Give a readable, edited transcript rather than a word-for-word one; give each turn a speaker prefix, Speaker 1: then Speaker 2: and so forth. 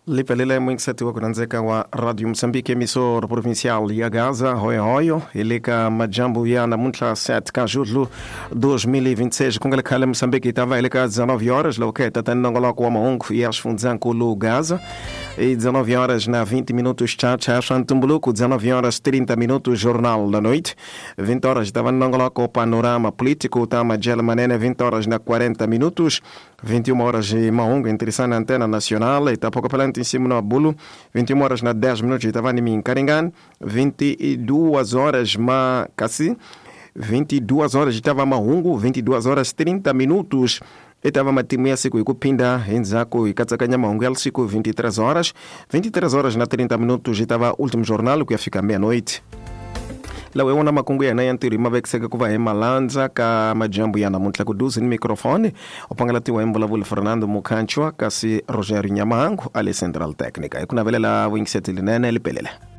Speaker 1: Lipelele mwingiseti wa ku rhandzeka wa Radio Mozambique, emissora provincial ya Gaza, hoyo hoyo, hi le ka majambu ya namuntlha 7 ka julho 2026. Ku nga le khale Mozambique, hi ta va hi le ka 19 horas loko hi ta nongonoko wa mahungu ya xifundzankulu Gaza. E 19 horas na 20 minutos, tcha swa ntumbuluko. 19 horas 30 minutos, Jornal da Noite. 20 horas ta va nongonoko Panorama Político ta Majela Manene. 20 horas na 40 minutos, 21 horas e mahungu interessante na Antena Nacional e tapoco pelante em cima no Abulo. 21 horas na 10 minutos estava em Mincaringan. 22 horas ma casi 22 horas estava mahungu. 22 horas 30 minutos itava matimu ya siku ikupinda endzhaku hi mahungu ya siku. 23 horas, 23 horas na 30 minutos itava último jornal ku ya fika meia-noite. Lawa hi wona makungu ya hina ya ntirho hi ma vekiseke ku va hi malandza ka majambu ya namuntlha. Ku duze ni microfone u pangalatiwa hi mbulavulo Fernando Mukhanchwa, kasi Rogério Nyamahangu a le central technica. Hi ku navelela vuyingiseti linene, lipelele.